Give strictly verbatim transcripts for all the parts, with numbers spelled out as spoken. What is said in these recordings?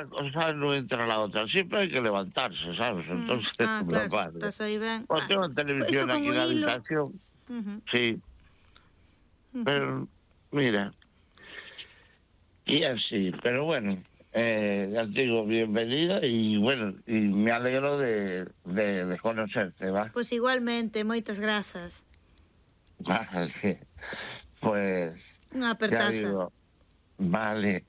cosa no entra la otra. Siempre hay que levantarse, ¿sabes? Entonces, Mm. Ah, me claro, pasa. estás aí ben. Pues Ah, tengo televisión isto con aquí o en la hilo. habitación. Uh-huh. Sí. Uh-huh. Pero, mira. Y así, pero bueno. Eh, ya te digo, bienvenida y bueno, y me alegro de, de, de conocerte, ¿va? Pois igualmente, moitas grazas. Vale. Pues, Unha ya apertaza. digo, vale.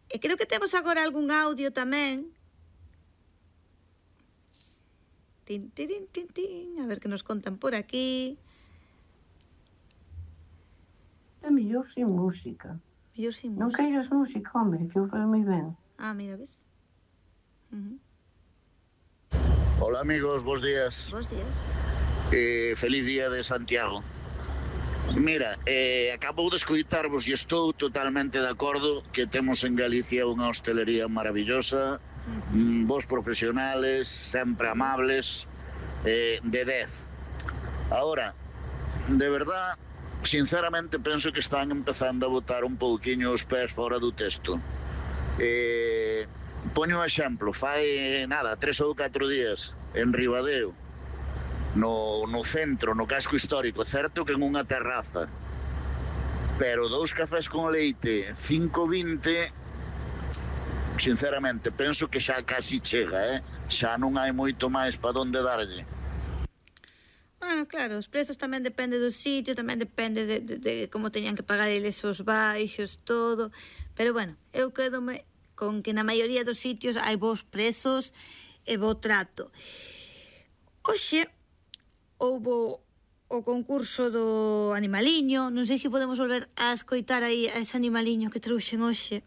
E creo que temos agora algún audio tamén. Tin, tin, tin, tin. A ver que nos contan por aquí. É mellor sin música. Mellor sin Non música. queiras música, home, que eu fai moi ben. Ah, mira, ves? Uh-huh. Hola amigos, bons días. Bos días. Eh, feliz día de Santiago. Mira, eh, acabo de escoitarvos e estou totalmente de acordo que temos en Galicia unha hostelería maravillosa, uh-huh. Vos profesionales, sempre amables, eh, de dez. Ahora, de verdad, sinceramente penso que están empezando a botar un pouquiño os pés fora do texto. Eh, poño un exemplo, fai nada, tres ou catro días en Ribadeo, no, no centro, no casco histórico, certo que en unha terraza, pero dous cafés con leite cinco vinte, sinceramente penso que xa casi chega, eh? Xa non hai moito máis para onde darlle. Bueno, claro, os prezos tamén depende do sitio, tamén depende de, de, de como teñan que pagar eles os baixos, todo. Pero bueno, eu quedome con que na maioría dos sitios hai bons prezos e bo trato. Oxe, houbo o concurso do animaliño, non sei se podemos volver a escoitar aí a ese animaliño que trouxen hoxe.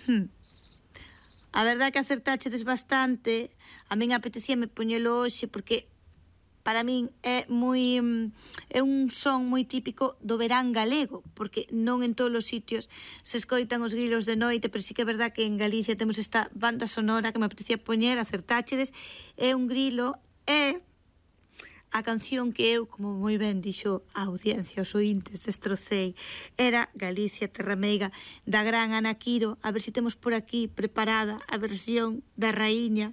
Hmm. A verdad que acertáchedes bastante. A min apetecíame poñelo hoxe porque para min é moi é un son moi típico do verán galego, porque non en todos os sitios se escoitan os grilos de noite, pero sí que é verdad que en Galicia temos esta banda sonora que me apetecía poñer, acertáchedes. É un grilo, é a canción que eu, como moi ben dixo a audiencia, os ointes, destrocei, era Galicia Terra Meiga, da gran Ana Quiro. A ver se temos por aquí preparada a versión da raíña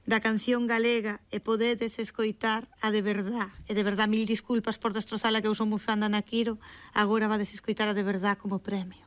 da canción galega e podedes escoitar a de verdad. E de verdad, mil disculpas por destrozala, que eu son moi fan da Ana Quiro. Agora vades escoitar a de verdad como premio.